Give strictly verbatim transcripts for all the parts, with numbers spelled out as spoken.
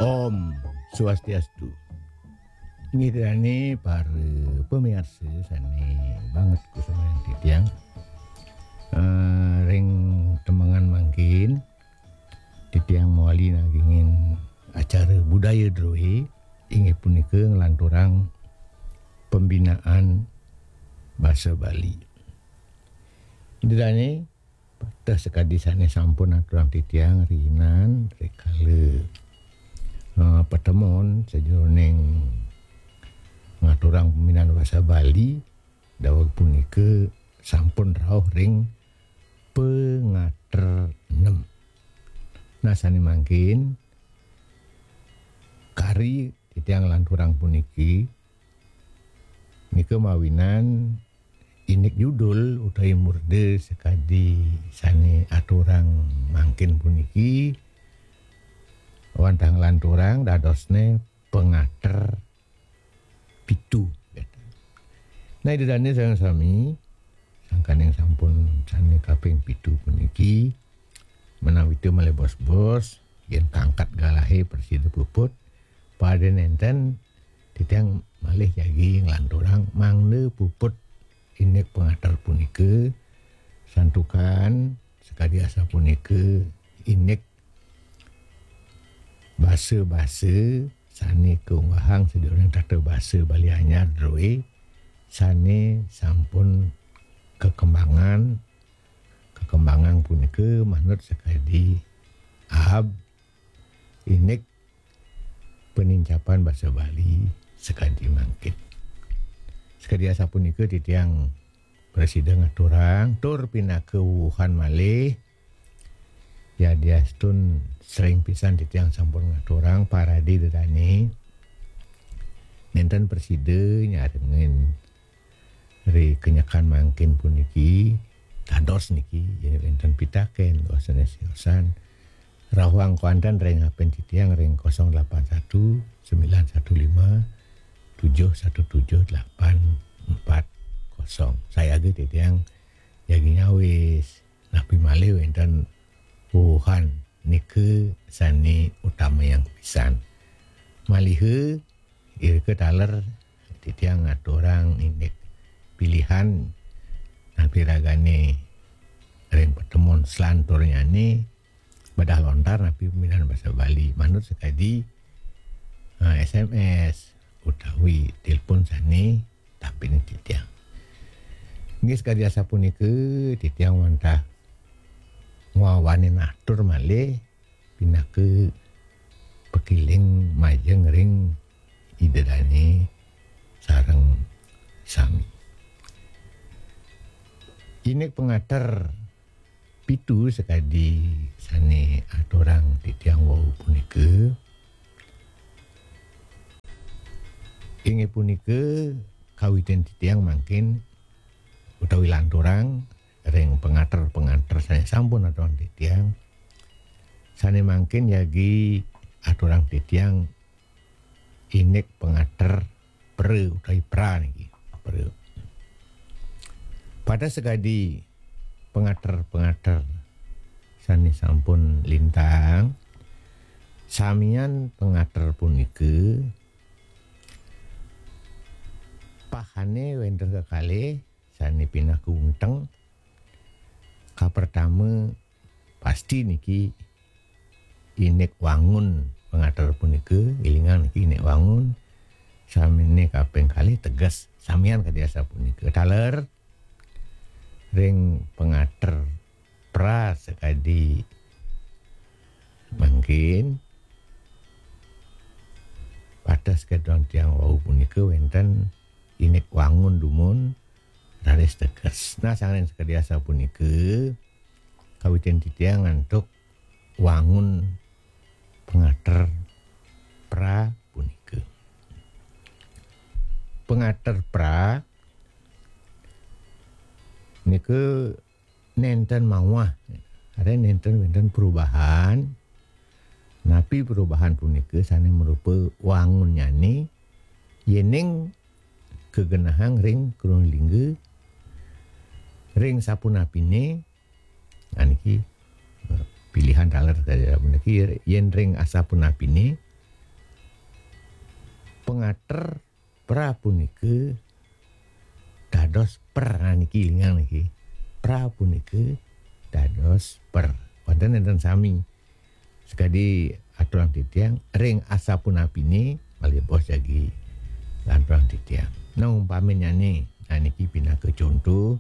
Om Swastiastu. Inggih dane para pamiarsa sane banget kusumayang titiang. Eh, ring temengan mangkin, titiang mawali nagingin acara budaya druwe, inggih punika nglanturang pembinaan basa Bali. Ida dane, pateh sakadi sane sampun aturang titiang riinan rikala, eh, patemon sajeroning ngaturang pembinaan basa Bali, daweg punika sampun rauh ring pangater nem. Nah, sane mangkin kari titiang nglanturang puniki, nika mawinan indik judul utawi murda sakadi sane aturang mangkin puniki, wantah nglanturang dadosne pangater pitu. Nah, Ida dane sareng sami, sangkaning sampun sane kaping pitu puniki, menawita malih bos-bos, yen kangkat galahe prasida puput, pada nenten titiang malih jagi nglanturang mangda puput indik pangater punika, santukan sakadi asapunika indik basa-basa sane kaunggahang sajeroning tata basa Bali Anyar druwe sane sampun kakembangan, kakembangan punika manut sakadi ab indik panincapan basa Bali sakadi mangkin. Sakadi asapunika titiang prasida ngaturang tur pinaka wuhan malih, yadiastun sering pisan titiang sampun ngaturang paradi dedane, nenten prasida nyarengin ri kenyekan mangkin puniki, dados niki, yen wenten pitaken, wasana siosan, rauhang kwanten ring hapen titiang ring kosong delapan satu, sembilan satu lima, tujuh satu tujuh, delapan empat kosong. Sayaga titiang jagi nyawis, napi malih wenten wuhan nika sane utamayang pisan. Maliha irika taler titiang ngaturang indik pilihan napi ragane ring patemon selanturnyane bedah lontar napi pembinaan basa Bali manut sakadi, eh, S M S utawi telepon sane tampin titiang. Inggih sakadi asapunika titiang wantah ngwawanin atur malih pinaka pakiling majeng ring Ida dane sareng sami. Indik pangater pitu sakadi sane aturang titiang wau punika, inggih punika kawitin titiang mangkin utawi lanturang ring pangater-pangater sane sampun aturang titiang, sane mangkin jagi aturang titiang indik pangater pra utawi pra niki. Pra. Pada sakadi pangater-pangater sane sampun lintang, samian pangater punika pahane wenten kekalih sane pinaka unteng. Kapertama, pasti niki indik wangun pangater punika, ilingang niki indik wangun. Samine kaping kalih teges, samian kadi asapunika. Taler ring pangater pra sakadi mangkin, pateh sakadi tiang wau punika wenten indik wangun dumun raris teges. Nah, sangkaning sakadi asapunika, kawitin titiang antuk wangun pangater pra punika. Pangater pra nika nenten mawah, artinya nenten wenten perubahan. Napi perubahan punika sane marupa wangunnyane yening kagenahang ring kruna lingga ring sapunapine, nah, niki, eh, pilihan taler kaya puniki, yen ring asapunapine pangater pra punika dados per. Nah, niki lingang niki. Pra punika dados per. Wonten enten sami. Sakadi aturang titiang ring asapunapine malih bos jagi lanturang titiang. Nah, umpaminyane, nah niki pinaka conto,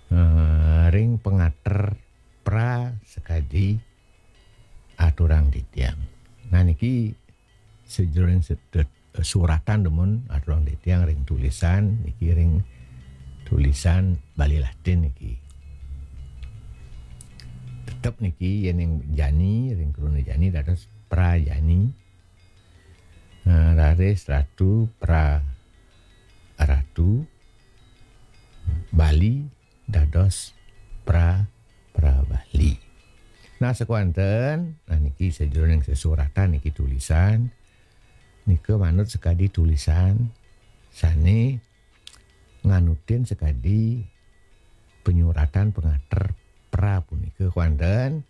eh, ring pangater pra sakadi aturang titiang. Nah, niki sajeroning se-, de-, suratan dumun aturang titiang ring tulisan niki, ring tulisan Bali Latin niki. Tetep niki yening jani ring kruna jani dados prajani. Nah, raris ratu pra ratu, Bali dados pra pra Bali. Nah, sakewanten, nah niki sajeroning sesuratan niki tulisan nika manut sakadi tulisan sane nganutin sakadi panyuratan pangater pra punika kewanten,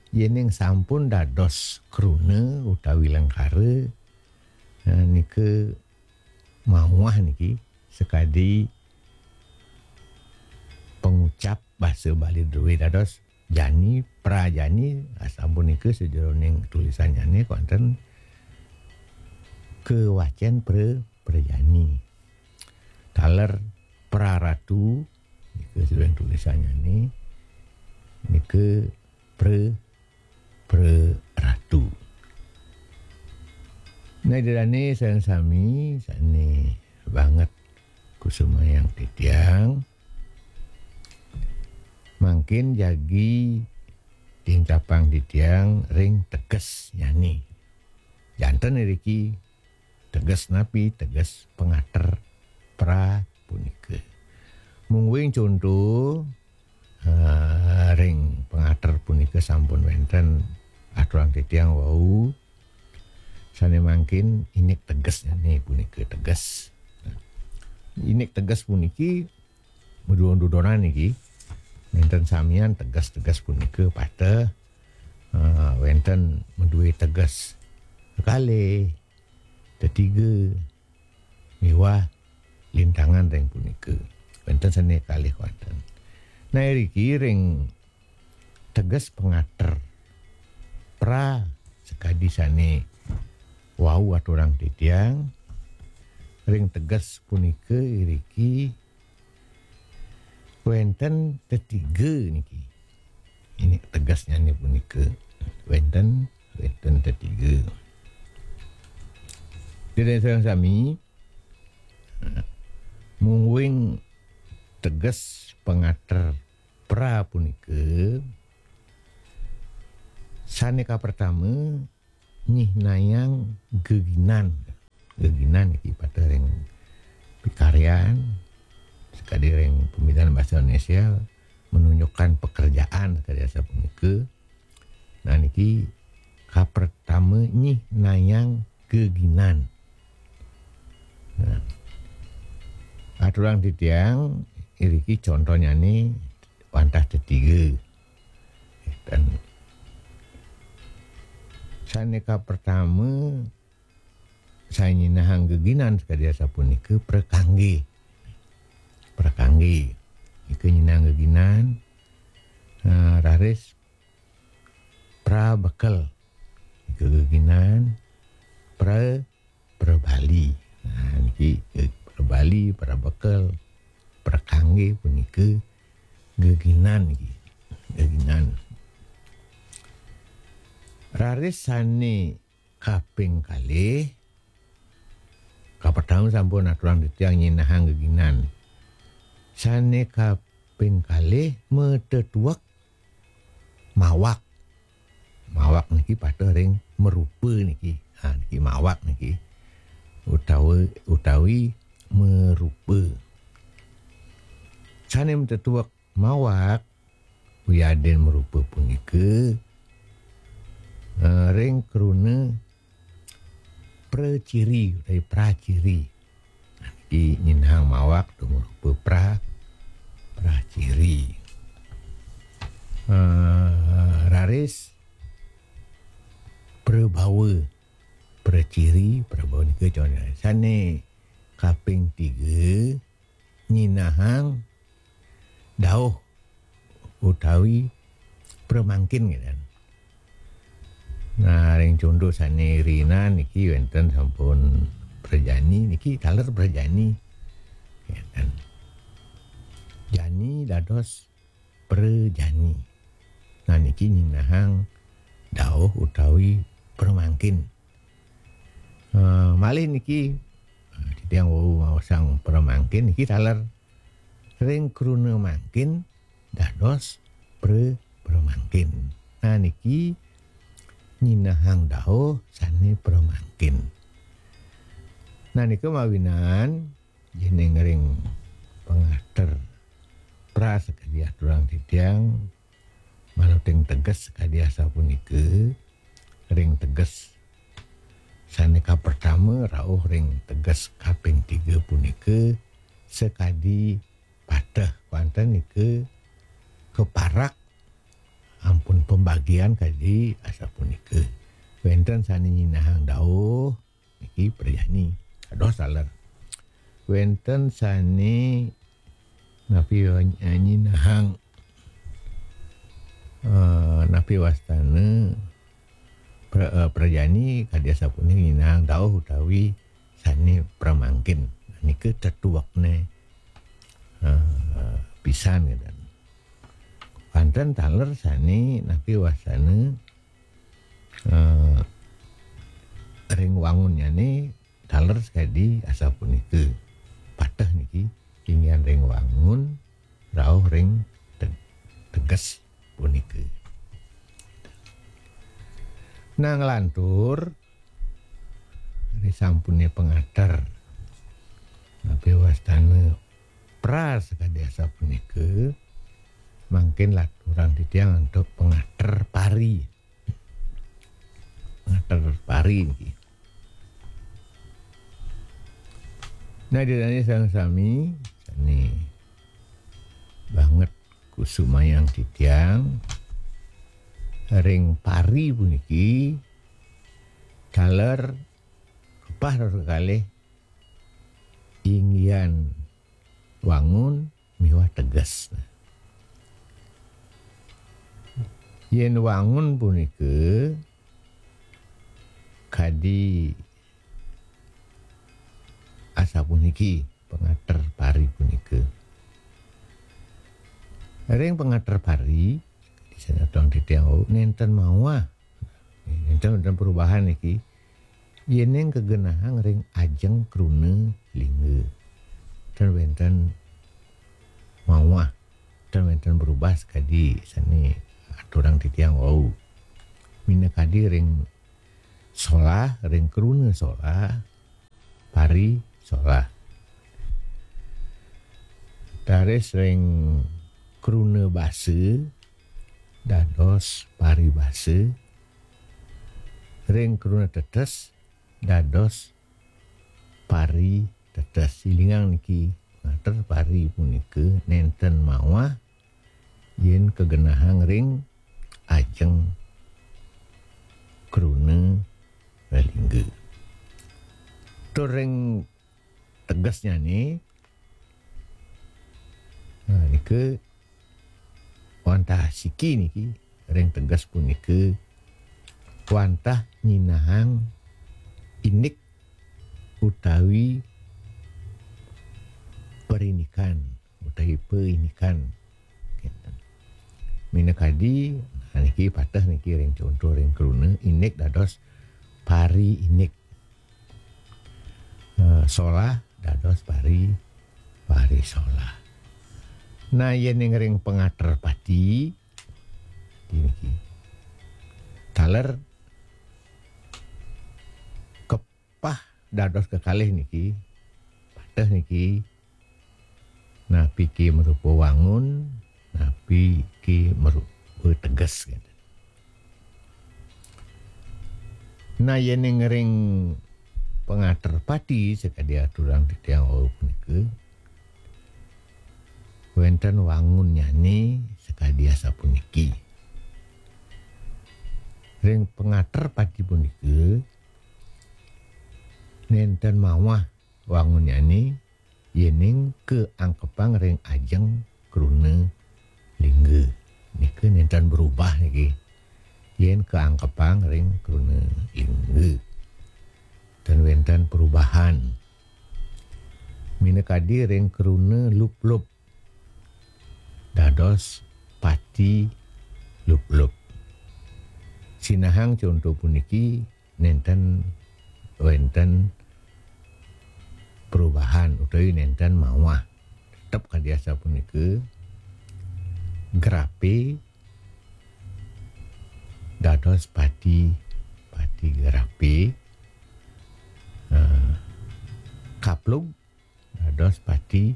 yening sampun dados kruna utawi lengkara, eh, nika mawah niki sakadi pangucap basa Bali druwe dados jani, prajani, asapunika sajeroning tulisannyane wonten kawacen pra, prajani. Taler praratu, nika sajeroning tulisannyane, nika pra, praratu. Nah, Ida dane sareng sami sane banget kusumayang titiang, mangkin jagi tincapang titiang ring tegesnyane. Janten iriki teges napi? Teges pangater pra punika. Mungguing conto, eh, ring pangater punika sampun wenten aturang titiang wau, sane mangkin indik tegesnyane punika teges. Nah, indik teges puniki madudon-dudonan niki. Wenten samian teges-teges punika pateh, eh, wenten madue teges kekalih, tetiga, miwah lintangan ring punika. Wenten sane kalih wenten. Nah, iriki ring teges pangater pra sakadi sane wau aturang titiang, ring teges punika iriki wenten tetiga niki. Ini tegesnyane punika. Wenten, wenten tetiga. Ida dane sareng sami, mungguing teges pangater pra punika sane kapertama nyihnayang geginan. Geginan niki pateh ring pikaryan, sakadi ring pamidan basa Indonesia, menunjukkan pekerjaan sakadi asapunika. Nah, niki kapertama nyihnayang geginan. Nah, aturang titiang iriki contohnyane wantah tetiga. Dan sane kapertama, sane nyinahang geginan sakadi asapunika prakangge. Prakangge. Nika nyinahang geginan, eh, raris prabekel. Nika geginan pra, prabali. Nah, niki, eh, prabali, prabekel, prakangge punika geginan niki. Geginan. Raris sane kaping kalih, kapertama sampun aturang titiang nyinahang geginan. Sane kaping kalih matetuek mawak. Mawak niki pateh ring marupa niki. Ha, niki mawak niki. Utawi, utawi marupa. Sane matetuek mawak, wiadin marupa punika, eh, ring kruna praciri utawi praciri. Niki nyinahang mawak tuh marupa pra, praciri. Eh, raris prabawa. praciri, prabau nika contoh. Sane kaping tiga, nyinahang dauh utawi pramangkin, gitu. Nah, ring contoh sane rina niki wenten sampun prajani, niki taler prajani. Gitu. Jani dados prajani. Nah, niki nyinahang dauh utawi pramangkin. Eh, malih niki, eh, titiang wau maosang pramangkin niki taler ring kruna mangkin dados pra-, pramangkin. Nah, niki nyinahang dauh sane pramangkin. Nah, nika mawinan yening ring pangater pra sakadi aturang titiang, maluting teges sakadi asapunika, ring teges sane kapertama rauh ring teges kaping tiga punika sakadi pateh, wenten nika kaparak ampun pembagian kadi asapunika. Wenten sane nyinahang dauh, niki prajani. Kados taler. Wenten sane napi wa-, nyinahang, eh, napi wastane pra-, eh, prajani kadi asapunika nyinahang dauh utawi sane pramangkin. Nika tetuekne, eh, pisan, gitu. Wenten taler sane napi wastane, eh, ring wangunnyane taler sakadi asapunika. Pateh niki inggihan ring wangun rauh ring te-, teges punika. Nah, nglantur risampune pangater napi wastane pra sakadi asapunika, mangkin laturang titiang antuk pangater pari. Ngater pari niki. Nah, ida dane sareng sami, sane banget kusumayang titiang ring pari puniki taler kepah ratus kalih inggihan wangun miwah teges. Yen wangun punika kadi asapuniki pangater pari punika. Ring pangater pari, di sana tuang titiang wau, nenten mawah. Nenten, nenten perubahan niki. Yening kagenahang ring ajeng kruna lingga. Ten wenten mawah, ten wenten berubah sakadi sane aturang titiang wau. Minakadi ring solah, ring kruna solah, pari solah. Taris ring kruna basa, dados pari basa. Ring kruna tetes, dados pari tetes. Ilingang niki, ngater pari punika nenten mawah yen kagenahang ring ajeng kruna lelingga. Tur ring tegesnyane, nah, nika wantah siki niki, ring teges punika wantah nyinahang indik utawi perinikan, utawi perinikan. Minakadi, nah, niki pateh niki ring contoh ring kruna, indik dados pari indik. Eh, solah dados pari, pari solah. Nah, yen ring pangater pati, niki. Taler kepah dados kekalih niki. Pateh niki. Napi ki marupa wangun, napi ki marupa teges, gitu. Nah, yening ring pangater pati sakadi aturang titiang wau punika, wenten wangunnyane sakadi asapuniki. Ring pangater pati punika, mawah wangunnyané yéning kaangkepang ring ajeng kruna lingga. Nika nénten berubah niki. Yén kaangkepang ring kruna lingga, ten wénten perubahan. Minakadi ring kruna luplup dados pati luplup. Sinahang conto puniki nénten wénten perubahan utawi nénten mawah. Tetep kadi asapunika, grapé dados pati, pati grapé, eh, kaplug dados pati,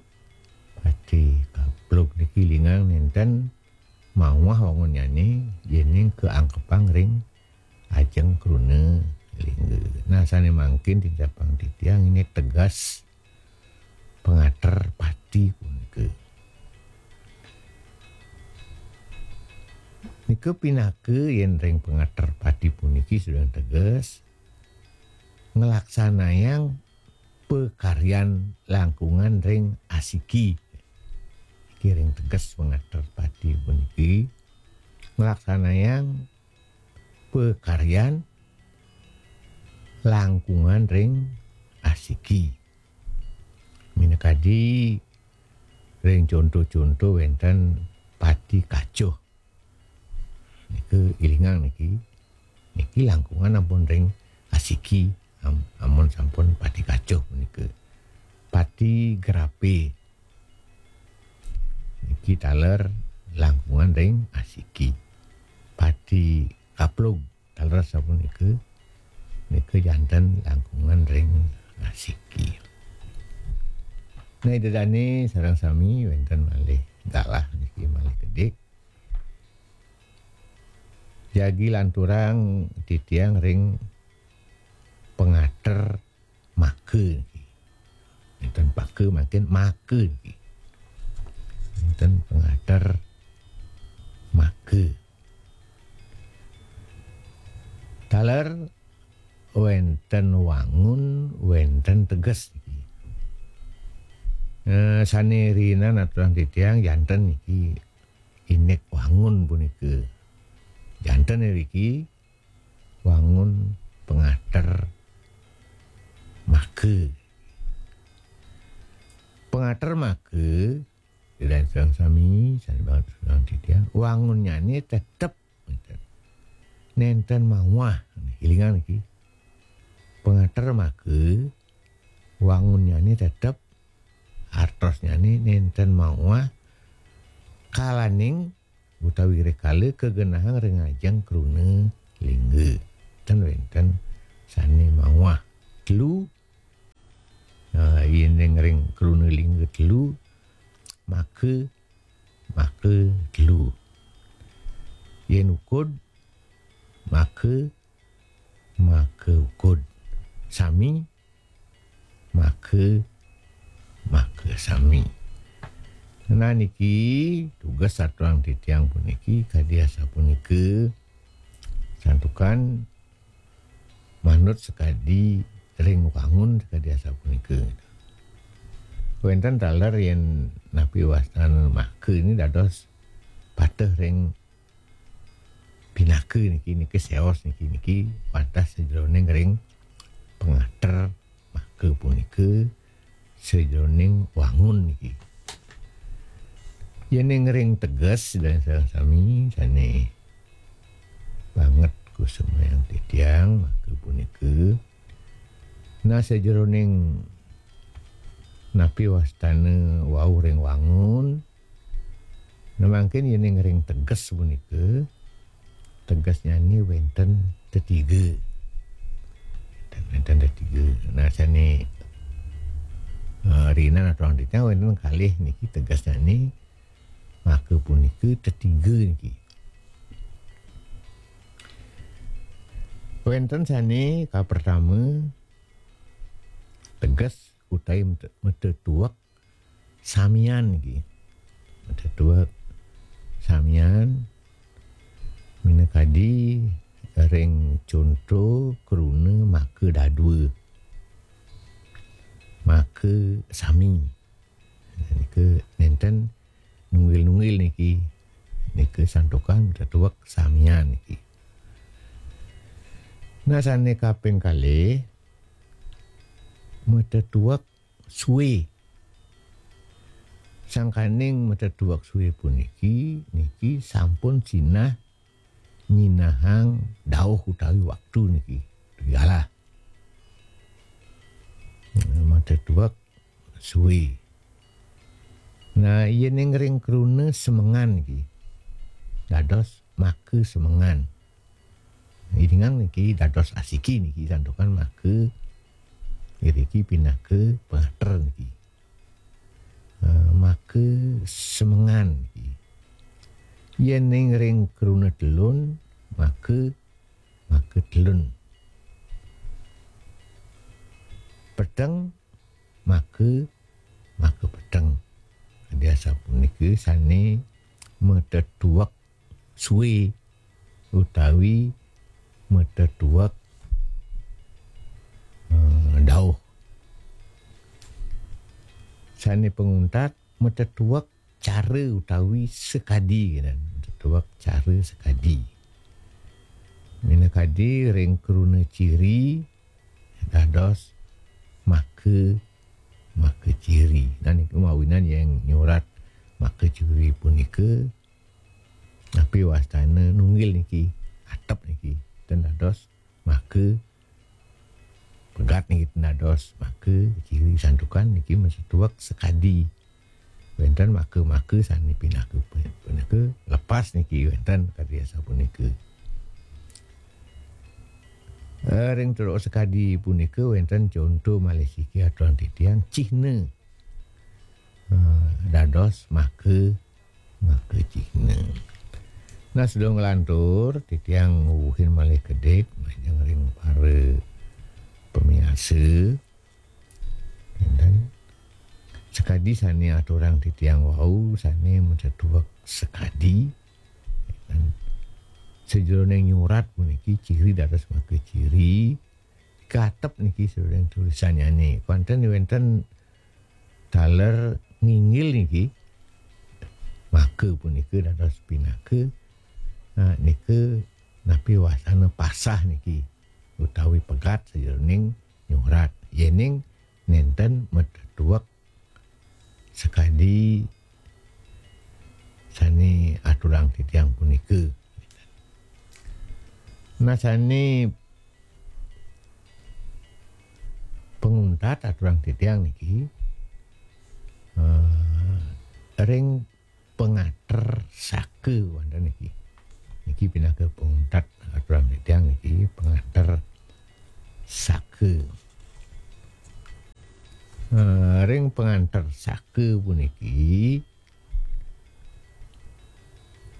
pati kaplug. Niki lingang nénten mawah wangunnyané yéning kaangkepang ring ajeng kruna lingga. Nah, sané mangkin tincapang titiang indik teges pangater pati punika. Nika pinaka yén ring pangater pati puniki sedeng teges nglaksanayang pakaryan langkungan ring asiki. Niki ring teges pangater pati puniki nglaksanayang pakaryan langkungan ring asiki. Minakadi ring conto-conto wénten pati kacuh. Nika ilingang niki. Niki langkungan ampun ring asiki. Am-, amun sampun pati kacuh punika. Pati grapé. Niki taler langkungan ring asiki. Pati kaplug taler sapunika. Nika janten langkungan ring asiki. Nah, Ida dané sareng sami wénten malih galah niki malih kedik. Jagi lanturang titiang ring pangater maka niki. Nénten paka mangkin maka niki. Nénten pangater maka. Taler wénten wangun, wénten teges niki. Eh, sané riinan aturang titiang janten niki indik wangun punika. Janten iriki wangun pangater maka. Pangater maka, Ida sareng sami, sané banget sareng titiang, wangunnyané tetep nénten mawah. Ilingang niki. Pangater maka, wangunnyané tetep, artosnyané nénten mawah, kalaning utawi rikala kagenahang ring ajeng kruna lingga. Ten wénten sané mawah. Telu, eh, yén ring kruna lingga telu, maka, maka telu. Yén ukud, maka, maka ukud. Sami, maka, maka sami. Nah, niki tugas aturang titiang puniki kadi asapunika, santukan manut sakadi ring wangun sakadi asapunika. Wénten taler yén napi wastan maka ini dados pateh ring pinaka niki, niki séos niki, niki wantah sajeroning ring pangater maka punika sajeroning wangun niki. Yéning ring teges, Ida sareng sami sané banget kusumayang titiang maka punika. Nah, sajeroning napi wastana wau ring wangun, nah, mangkin yéning ring teges punika, tegesnyané wénten tetiga. Wénten, wénten tetiga. Nah, sané, eh, riinan aturang titiang wénten kalih niki tegesnyané maka punika tetiga niki. Wénten sané kapertama teges utawi mete-, matetuek samian niki. Matetuek samian minakadi ring conto kruna maka dadua. maka sami. Nika nenten nunggil-nunggil niki. Nika santukan matetuek samian niki. Nah, sane kaping kalih, matetuek sue. Sangkaning matetuek sue puniki, niki sampun sinah nyinahang dauh utawi waktu niki. Galah. Matetuek sue. Nah, yening ring kruna semengan niki, dados maka semengan. Idingang niki dados asiki niki, santukan maka iriki pinaka pangater niki. Eh, maka semengan niki. Yening ring kruna telun, maka, maka telun. Peteng, maka, maka peteng. Kadi asapunika sane matetuek sue utawi matetuek, eh, dauh. Sane panguntat, matetuek cara utawi sakadi, kan? Matetuek cara sakadi. Minakadi ring kruna ciri dados maka, maka ciri. Nah, niku mawinan yang nyurat maka ciri punika, napi wastana nunggil niki, atep niki, ten dados maka, pegat niki ten dados maka ciri, santukan niki matetuek sakadi. Wenten maka-maka sane pinaka pu-, punika lepas niki, wenten kadi asapunika. Eh, ring tuek sakadi punika wenten conto malih siki aturang titiang, cihna. Eh, dados maka, maka cihna. Nah, sedurung nglantur, titiang nguuhin malih kedik majeng ring para pamiarsa. Wenten sakadi sane aturang titiang wau, sane matetuek sakadi. Wenten sajeroning nyurat puniki, ciri dados maka ciri, katep niki sajeroning tulisannyane. Wenten, wenten taler nginggil niki, maka punika dados pinaka. Nah, nika napi wastana pasah niki, utawi pegat sajeroning nyurat. Yening nenten matetuek sakadi sane aturang titiang punika. Nah, sane panguntat aturang titiang niki, eh, ring pangater saka wenten niki. Niki pinaka panguntat aturang titiang niki, pangater saka. Eh, ring pangater saka puniki,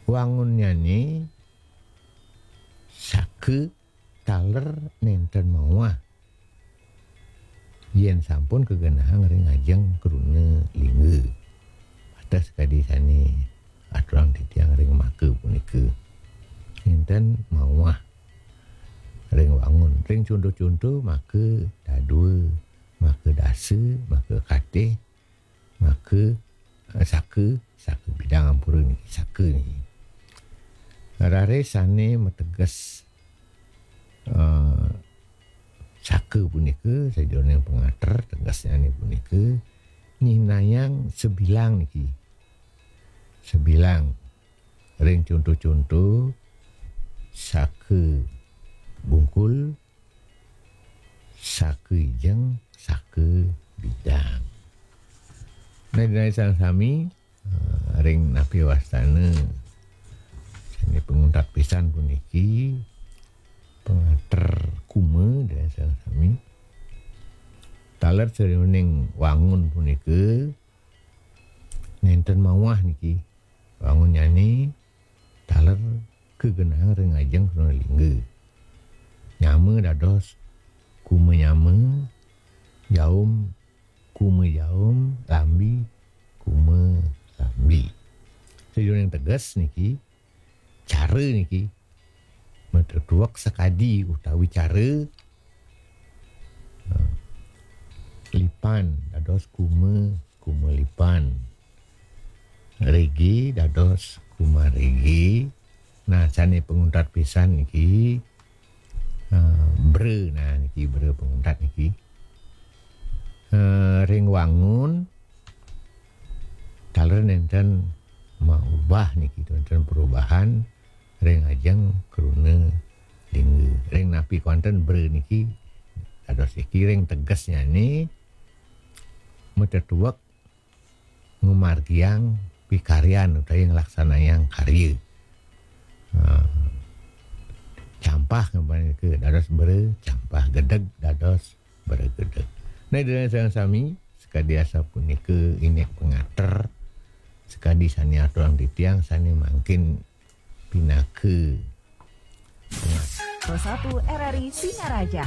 wangunnyane saka taler nenten mawah yen sampun kagenahang ring ajeng kruna lingga. Atas kadi sane aturang titiang ring maka punika, nenten mawah ring wangun. Ring conto-conto maka dadua, maka dasa, maka katih, maka, eh, saka, saka bidang, ampura niki, saka niki. Raris sane mateges, eh, saka punika, sajeroning pangater, tegesnyane punika, nyihnayang sabilang niki. Sabilang. Ring conto-conto, saka bungkul, saka ijeng, saka bidang. Nah, ida dané sareng sami, eh, ring napi wastana sané panguntat pisan puniki, pangater kuma, ida dané sareng sami. Taler sajeroning wangun punika nénten mawah niki. Wangunnyané taler kagenahang ring ajeng kruna lingga. Nyama dados kuma nyama, jaum kuma jaum, lambi kuma lambi. Sajeroning teges niki, cara niki, matetuek sakadi utawi cara, eh, lipan dados kuma, kumalipan. Rege dados kumarege. Nah, sane panguntat pisan niki, eh, bra. Nah, niki bra panguntat niki. Eh, ring wangun, taler nenten maubah niki, nenten perubahan ring ajeng kruna lingga. Ring napi kewanten bra niki, dados iki ring tegesnyane matetuek ngamargiang pikaryan utawi nglaksanayang karya. Ha. Campah ngamargiang dados bra, campah gedeg dados bra gedeg. Nah, Ida dané sareng sami, sakadi asapunika indik pangater, sakadi sane aturang titiang sane mangkin pinaka pangater. Satu R R I Singaraja.